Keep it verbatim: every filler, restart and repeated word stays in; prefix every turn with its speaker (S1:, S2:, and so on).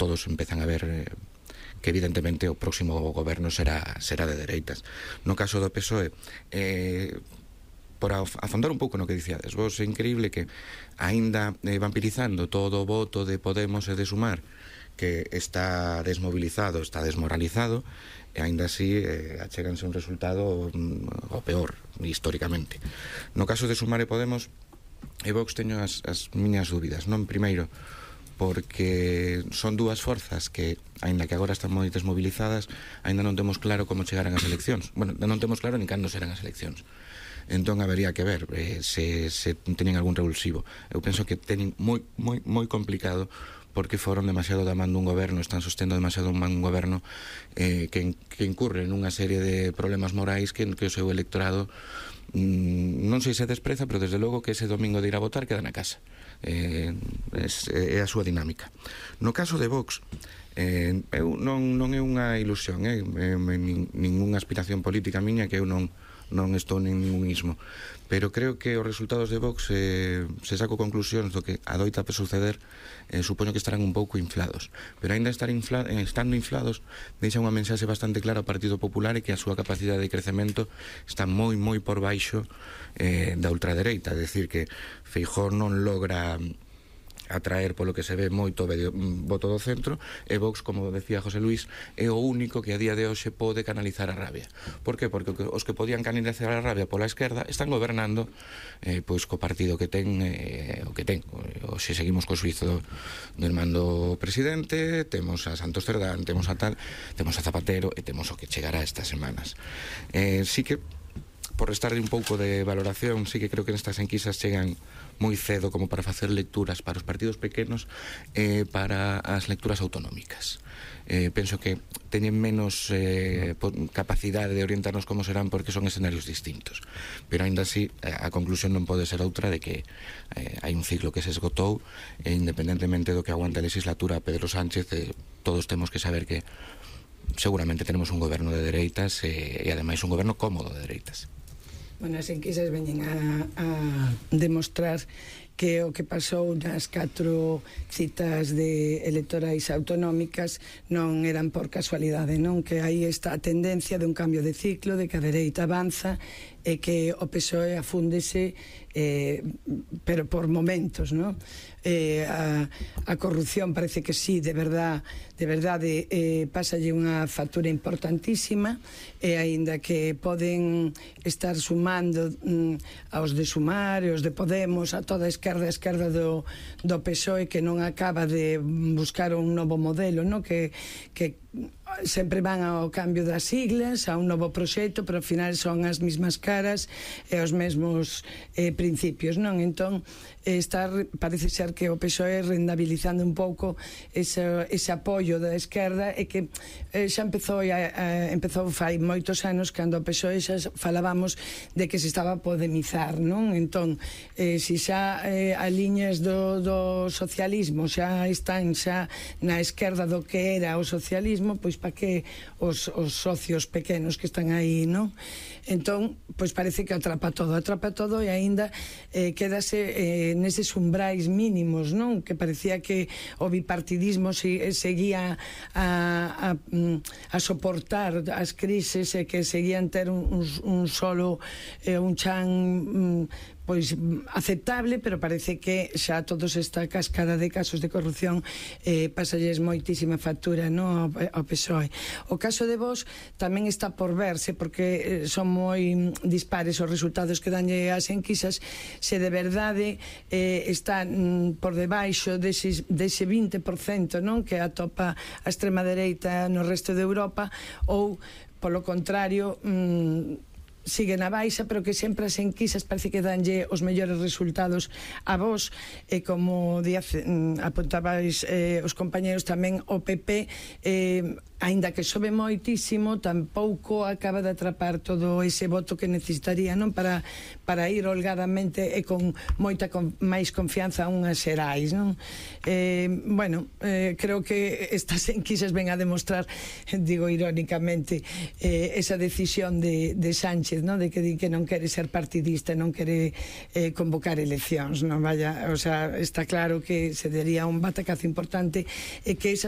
S1: todos empezan a ver eh, que evidentemente o próximo goberno será, será de dereitas. No caso do P S O E, eh, por afondar un pouco no que dicíades vos, é increíble que aínda eh, vampirizando todo o voto de Podemos e de Sumar, que está desmobilizado, está desmoralizado, e aínda así eh, achéganse un resultado mm, o peor, históricamente. No caso de Sumar e Podemos, e Vox teño as, as miñas dúbidas, non? Primeiro, porque son dúas forzas que, aínda que agora están moi desmovilizadas, aínda non temos claro como chegarán as eleccións. Bueno, non temos claro ni cando serán as eleccións. Entón habería que ver eh, se, se teñen algún revulsivo. Eu penso que teñen moi, moi, moi complicado, porque foron demasiado da man dun goberno, están sostendo demasiado un man un goberno eh, que, que incurre nunha serie de problemas morais que, que o seu electorado mm, non sei se despreza, pero desde logo que ese domingo de ir a votar queda na casa. Eh, é, é a súa dinámica. No caso de Vox, eh, eu non, non é unha ilusión, eh, eh, nin, ninguna aspiración política miña, que eu non non estou nin ningún ismo, pero creo que os resultados de Vox eh, se saco conclusións do que adoita a suceder, eh, supoño que estarán un pouco inflados, pero aínda estar infla, eh, estando inflados deixa unha mensaxe bastante clara ao Partido Popular, e que a súa capacidade de crecemento está moi moi por baixo eh, da ultradereita, é dicir, que Feijóo non logra atraer, polo que se ve, moito voto do centro, e Vox, como decía José Luís, é o único que a día de hoxe pode canalizar a rabia. Por que? Porque os que podían canalizar a rabia pola esquerda están gobernando eh, pois co partido que ten eh, o que ten. Hoxe seguimos co suizo do, do mando presidente, temos a Santos Cerdán, temos a tal, temos a Zapatero, e temos o que chegará estas semanas. Eh, sí que, por restarle un pouco de valoración, sí que creo que nestas enquisas chegan moi cedo como para facer lecturas para os partidos pequenos e eh, para as lecturas autonómicas. Eh, penso que teñen menos eh, capacidade de orientarnos como serán, porque son escenarios distintos. Pero aínda así, a conclusión non pode ser outra de que eh, hai un ciclo que se esgotou, e independentemente do que aguante a legislatura Pedro Sánchez, eh, todos temos que saber que seguramente tenemos un goberno de dereitas, eh, e ademais un goberno cómodo de dereitas.
S2: Bueno, as enquisas veñen a, a demostrar que o que pasou nas catro citas de electorais autonómicas non eran por casualidade, non? Que aí está a tendencia de un cambio de ciclo, de que a dereita avanza, e que o P S O E afúndese, eh, pero por momentos, non? Eh, a, a corrupción parece que sí, de verdad, de verdade, eh, pásalle unha factura importantísima, e aínda que poden estar sumando mm, aos de Sumar e aos de Podemos, a toda a esquerda, a esquerda do, do P S O E, que non acaba de buscar un novo modelo, non? Que, que sempre van ao cambio das siglas, a un novo proxecto, pero ao final son as mesmas caras e os mesmos eh, principios, non? Entón, estar, parece ser que o P S O E rendabilizando un pouco ese, ese apoio da esquerda, e que eh, xa empezou, a, a, empezou fai moitos anos, cando o P S O E xa falábamos de que se estaba a podemizar, non? Entón, eh, se xa eh, as liñas do, do socialismo xa están xa na esquerda do que era o socialismo, pois para que os, os socios pequenos que están aí, non? Entón, pois parece que atrapa todo, atrapa todo, e aínda eh, quedase eh, neses umbrais mínimos, non? Que parecía que o bipartidismo se, seguía a, a, a soportar as crises, e que seguían ter un, un, un solo eh, un chan mm, pois aceptable, pero parece que xa todos esta cascada de casos de corrupción eh, pasalles moitísima factura, no, ao P S O E. O caso de Vox tamén está por verse, porque eh, son moi dispares os resultados que danlle as enquisas, se de verdade eh, está mm, por debaixo dese, dese vinte por cento, non? Que atopa a extrema dereita no resto de Europa, ou polo contrario mm, sigue na baixa, pero que sempre as enquisas parece que danlle os mellores resultados a Vox, e como Díaz mm, apuntabais eh, os compañeros tamén, o P P eh, aínda que sobe moitísimo, tampouco acaba de atrapar todo ese voto que necesitaría, non? Para, para ir holgadamente e con moita con, máis confianza a unhas xerais, non? Eh, bueno, eh, creo que estas enquisas ven a demostrar, digo irónicamente, eh, esa decisión de, de Sánchez, non? De que di que non quere ser partidista, non quere eh, convocar eleccións, non? Vaya, o sea, está claro que se daría un batacazo importante, e que esas